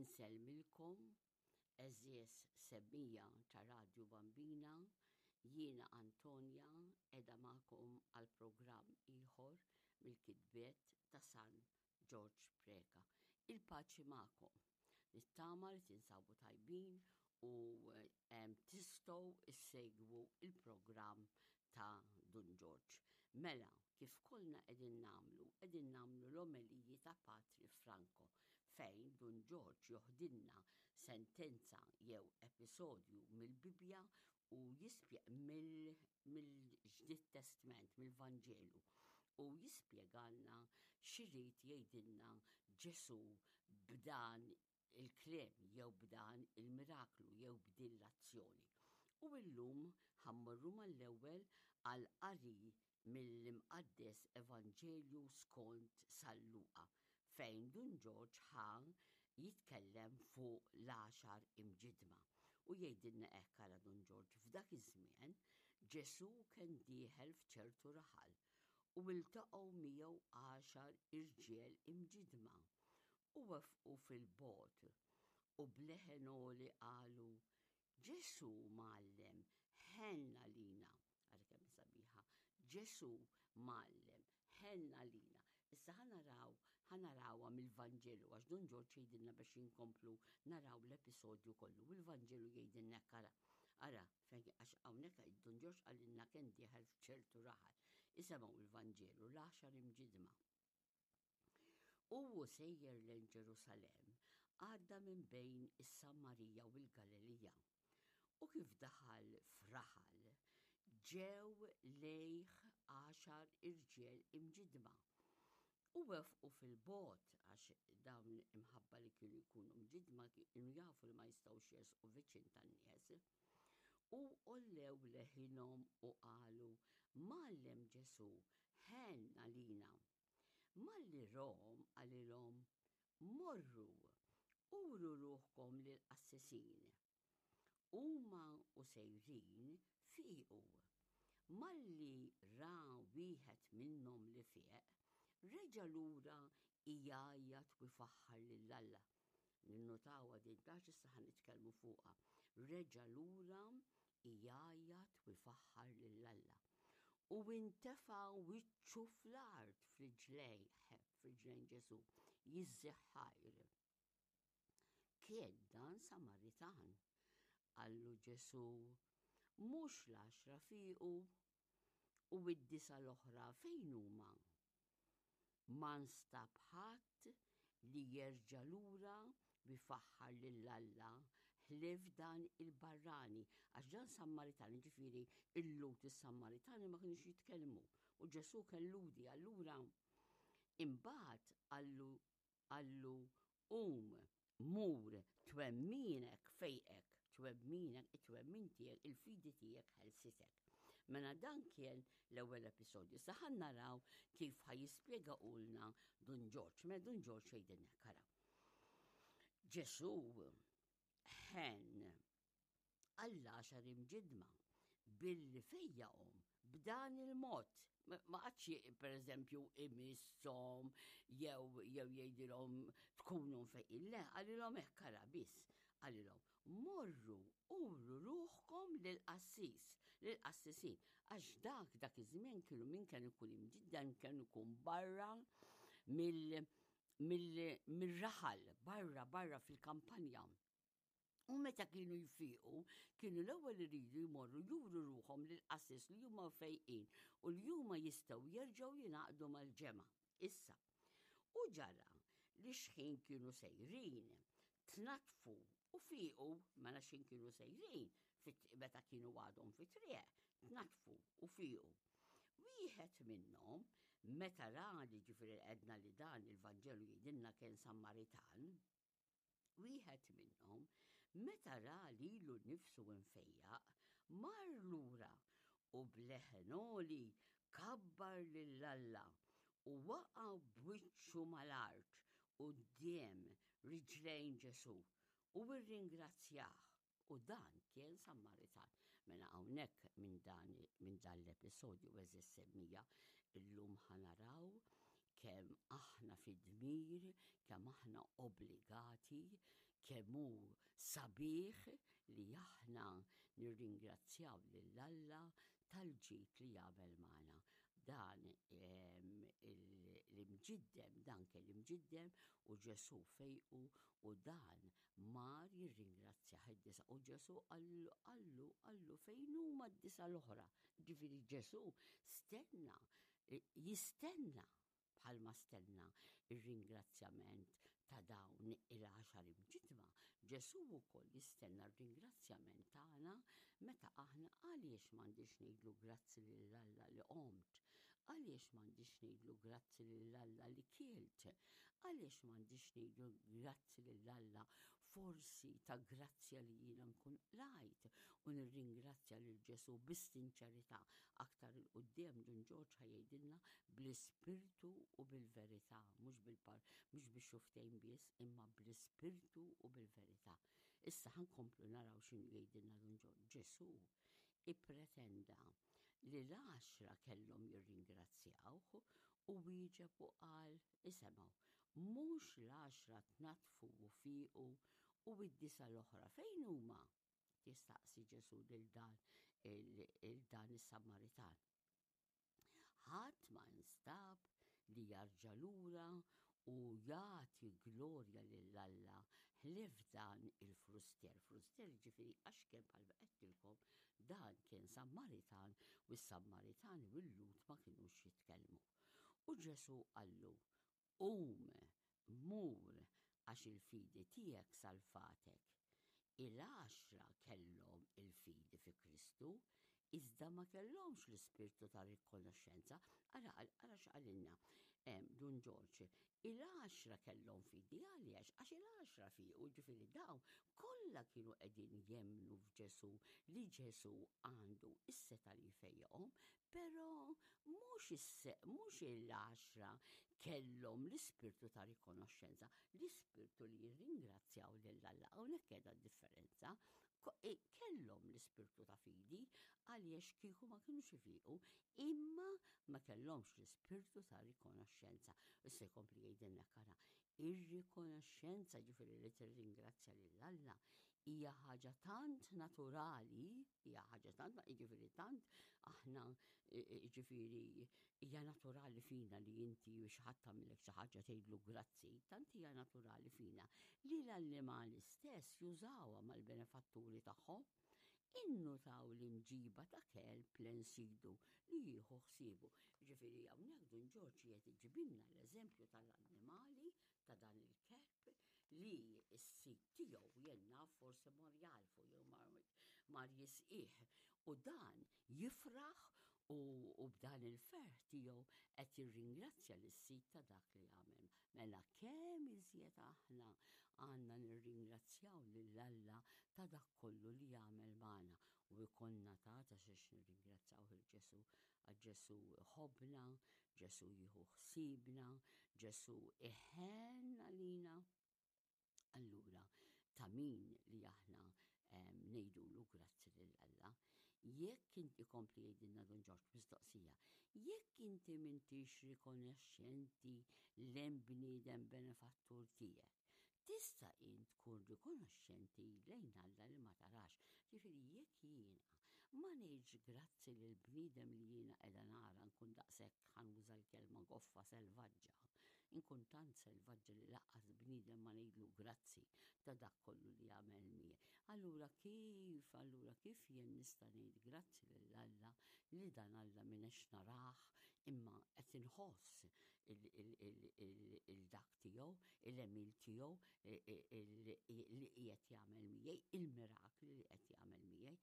Insellmilkom, għeżież semmiegħa ta' Radju Bambina, jiena Antonia qiegħda magħkom għal programm ieħor mill-kitbiet ta' San Ġorġ Preca. Il-paċi magħkom. Nittama li tinsabu tajbin u tistgħu issegwu il-programm ta' Dun Ġorġ. Mela, kif kollna qegħdin nagħmlu, qegħdin nagħmlu l-omeliji ta' Patri Franco, fejn Dun Ġorġ joħdilna sentenza jew episodju mill-Bibbja u jispje mill-Ġdid Testment, mill-Vanġelu, u jispjegalna x'irid jgħidilna Ġesù b'dan il-kliem jew b'dan il-miraklu jew b'din l-azzjoni. U illum ħa mmorru mal-ewwel għal qari mill-Imqaddes Evanġelju skont San Luqa, fejn Dun Ġorġ ħa jitkellem fuq l-għaxar imġidma. U jgħidilna hekk ara Dun Ġorġ, f'dak iż-żmien Ġesù kien dieħel f'ċertu raħal u iltaqgħu miegħu għaxar irġiel imġidma u wefqu fil-bogħod u b'leħen għoli qalu, Ġesù, Mgħallem, ħenn għalina. Ara kemm sabiħa. Ġesù, Mgħallem, ħenn għalina. Issa ħa naraw, ħa narawha mill-Vanġelu għax Dun Ġorġ jgħidilna biex inkomplu naraw l-episodju kollu. U l-Vanġelu jgħidilna hekk ara. Ara, fejn għax hawnhekk Dun Ġorġ qalilna kien dieħel f'ċertu raħal. Isemgħu l-Vanġelu l-għaxar imġidma. U hu sejjer lejn Ġerusalemm, għadda minn bejn is-Samarija u l-Galilija. U kif daħal f'raħal, ġew lejh għaxar irġiel imġidma. U wefqu fil-bogħod, għax dawn imħabba li kienu jkunu mġidma kienu jafu li ma jistgħux jersqu viċin tan-nies. U għollew leħinhom u qalu, Mgħallem Ġesù, ħenn għalina. Malli rahom qalilhom, Morru, uru ruħkom lill-qassisin. Huma u sejrin fiequ. Malli ra wieħed minnhom li fieq, reġa' lura jgħajjat u jfaħħar lil Alla. Ninnotawha din tax issa ħa nitkellmu fuqha. Reġa' lura jgħajjat u jfaħħar lil Alla. U intefa' wiċċu fl-art f'riġlejh, f'riġlejn Ġesù, jiżżih ħajr. Kien dan Samaritan? Qallu Ġesù, mhux l-għaxra fiequ u id-disa l-oħra fejn huma? Ma nstab ħadd li jerġa' lura u jfaħħar lil Alla ħlief dan il-barrani, għax dan Sammaritan, jiġifieri il-Lhud is-Sammaritani ma kinux jitkellmu u Ġesù kien Lhudi, allura imbagħad qallu Qallu, Qum, mur, twemminek fejqek, twemminek, it-twemmin tiegħek, il-fidi tiegħek ħelsitek. Mela dan kien l-ewwel episodju. Sa ħa naraw kif ħa jispjega ulna Dun Ġorġ. Mela Dun Ġorġ jgħidilna kara. Ġesù ħen għall-għaxar imġidma billi fejjaqhom b'dan il-mod. Ma qatx per eżempju imisshom jew jew jgħidilhom tkunu mfejqin. Le, qalilhom hekk ara biss. Qalilhom morru uru ruħkom lill-qassis, lill-qassisin. Għax dak dak iż-żmien kienu min kien ikun imġiddan kien ikun barra mill mill-raħal, barra barra fil-kampanja. U meta kienu jfiqu, kienu l-ewwel iridu jmorru juru ruħhom lill-qassis li huma fejqin u li huma jistgħu jerġgħu jingħaqdu mal-ġemgħa. Issa, u ġara li xħin kienu sejrin, tnaddfu u fiequ, mela xħin kienu sejrin, meta kienu għadhom fit-triq, tnaddfu u fiequ. Wieħed minnhom, meta ra li ġifieri għedna li dan il-Vanġelu jgħidilna kien Sammaritan, Wieħed minnhom, meta ra lilu nnifsu mfejjaq, mar lura u b'leħen għoli kabbar lil Alla u waqa' b'wiċċu mal-art quddiem riġlejn Ġesù u rringrazzjah. U dan kien Sammaritan. Mela hawnhekk minn dan minn dan l-episodju għeżież semmija illum ħa naraw kemm aħna fi dmir, kemm aħna obbligati, Kemm hu sabiħ li aħna nirringrazzjaw lil Alla tal-ġid li jagħmel magħna. Dan l-imġiddem, dan kien imġiddem u Ġesù fejqu u dan mar jirringrazzjah id-disa' u Ġesù qallu qallu qallu fejn huma d-disa' l-oħra. Ġifieri Ġesù stenna jistenna bħalma stenna r-ringrazzjament ta' dawn il-għaxar imġiddma, Ġesù wkoll jistenna r-ringrazzjament tagħna meta aħna għaliex m'għandix ngħidlu grazzi lil Alla li qomt? Għaliex m'għandix ngħidlu grazzi lil Alla li kilt? Għaliex m'għandix ngħidlu grazzi lil Alla forsi ta' grazzja li jiena nkun qlajt u nirringrazzja lil Ġesù bis-sinċerità. Aktar 'il quddiem Dun Ġorġ ħa jgħidilna bl-ispirtu u bil-verità, mhux bil-par, mhux bix-xufftejn biss, imma bl-ispirtu u bil-verità. Issa ħa nkomplu naraw x'inhu jgħidilna Dun Ġorġ. Ġesù ippretenda li l-għaxra kellhom jirringrazzjawh u wieġeb u qal, isemgħu, Mhux l-għaxra tnaddfu u fiequ u d-disgħa l-oħra fejn huma? Jistaqsi Ġesù lil dan il dan is-Samaritan. Ħadd ma nstab li jarġa' lura u jagħti glorja lil Alla ħlief dan il-frustier. Frustier jiġifieri għax kien bħalma għedtilkom dan kien Sammaritan u s-Sammaritani u l-Lhud ma kinux jitkellmu. U Ġesù qallu, Qum, mur, għax il-fidi tiegħek salvatek. Il-għaxra kellhom il-fidi fi Kristu, iżda ma kellhomx l-ispirtu ta' rikonoxxenza. Ara, ara x'qalilna Dun Ġorġ. Il-għaxra kellhom fidi għaliex? Għax il-għaxra fiequ, ġifieri dawn kollha kienu qegħdin jemmnu f'Ġesù li Ġesù għandu s-setgħa li jfejjaqhom, però mhux mhux il-għaxra kellhom l-ispirtu ta' rikonoxxenza, l-ispirtu li jirringrazzjaw lil Alla. Hawnhekk qiegħda d-differenza. Kellhom l-ispirtu ta' fidi għaliex kieku ma kinux ifiqu, imma ma kellhomx l-ispirtu ta' rikonoxxenza. Issa jkompli jgħidilna kara, ir-rikonoxxenza ġifieri li tirringrazzja lil Alla hija ħaġa tant naturali, hija ħaġa tant, jiġifieri tant aħna jiġifieri hija naturali fina li inti u xi ħadd tagħmilek xi ħaġa tgħidlu grazzi, tant hija naturali fina li l-annimali stess jużawha mal-benefatturi tagħhom. Innutaw l-imġiba ta' kelb lejn sidu li jieħu ħsiebu. Ġifieri hawnhekk Dun Ġorġ qiegħed iġibilna l-eżempju tal-annimali ta' dan il-kelb li s-sid tiegħu jien naf forsi mar jagħlfu jew mar jisqih u dan jifraħ u b'dan il-ferħ tiegħu qed jirringrazzja lis-sid ta' dak li għamel. Mela kemm iżjed aħna għandna nirringrazzjaw lil Alla ta' dak kollu li jagħmel magħna u jkollna ta' ta' xiex nirringrazzjawh il Ġesù għax Ġesù iħobbna, Ġesù jieħu ħsiebna, Ġesù iħenn għalina. Allura, ta' min li aħna ngħidulu grazzi lil Alla. Jekk inti kompli jgħidilna Dun Ġorġ mistoqsija, jekk inti m'intix rikonoxxenti lejn bniedem benefattur tiegħek, tista' int tkun rikonoxxenti lejn Alla li ma tarax? Ġifieri jekk jiena ma ngħidx grazzi lil bniedem li jiena qiegħda nara nkun daqshekk ħa nuża l-kelma goffa selvaġġa, inkun tant selvaġġa li lanqas bniedem ma ngħidlu grazzi ta' dak kollu li għamel miegħi. Allura kif, allura kif jien nista' ngħid grazzi lil Alla li dan Alla m'inex narah imma qed inħoss il-dak tiegħu, il-għemil tiegħu li qiegħed jagħmel miegħi, il-mirakli li qed jagħmel miegħi.